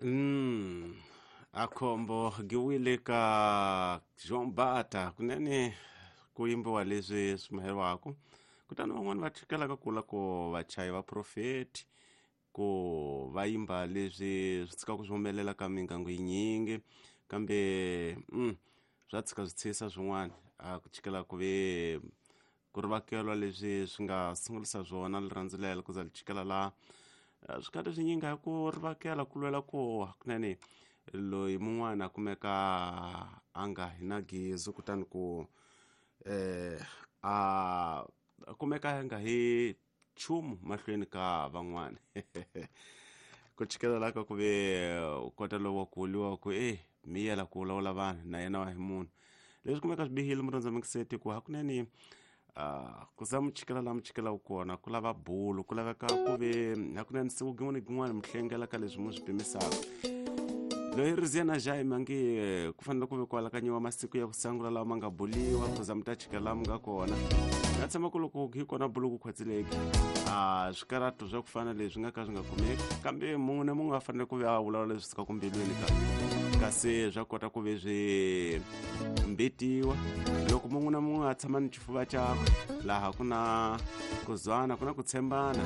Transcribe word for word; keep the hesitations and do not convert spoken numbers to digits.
Mm. Akhombo giwile ka Jean Bata kunene ku yimbiwa leswi swi maheriwaka kutani van'wani va tshikelaka kula ku vachayi va profeti ku va yimba leswi swi tshikaka swi humelela ka mingangu yinyingi kambe mm, swa tshika swi tshisa swin'wana a ku tshikela ku ve ku ri vakelwa leswi swi nga sungulisa swona rirhandzu lelo ku za li tshikela laha swi kati swinyingi hi ku ri vakela ku lwela ku hakunene loyi mun'wana a kumeka a nga hi na gezi kutani ku eh a kumeka a nga hi nchumu mahlweni ka van'wana ku tshikela la ka ku ve u kota lowu wa ku vuriwa ku e miyela ku vulavula vanhu na yena wa hi munhu leswi kumeka swi bihile murhandza mingiseti ku hakunene Uh, ku za muchikela laha muchikela wu kona ku lava bulu ku laveka ku ve hakunene siku gin'wana gin'wana mi hlengela ka leswi mu swi pimisaka loyi Riziana Jaime a nge ku fanele ku ve ku alakanyiwa masiku ya ku sangula lawa ma nga buliwa ku za mi ta chikela laha mi nga kona na tshama ku loko hi kona bulu ku khwatsileki a swikarato swa ku fana leswi nga ka swi nga kumeki kambe mun'we na mun'we a fanele ku ve a vulavula leswi sukaka mbilwini ka kasi swa kota ku ve swi mbitiwa loko mun'we na mun'we a tshama ni xifuva xakwe laha ku na ku zwana ku na ku tshembana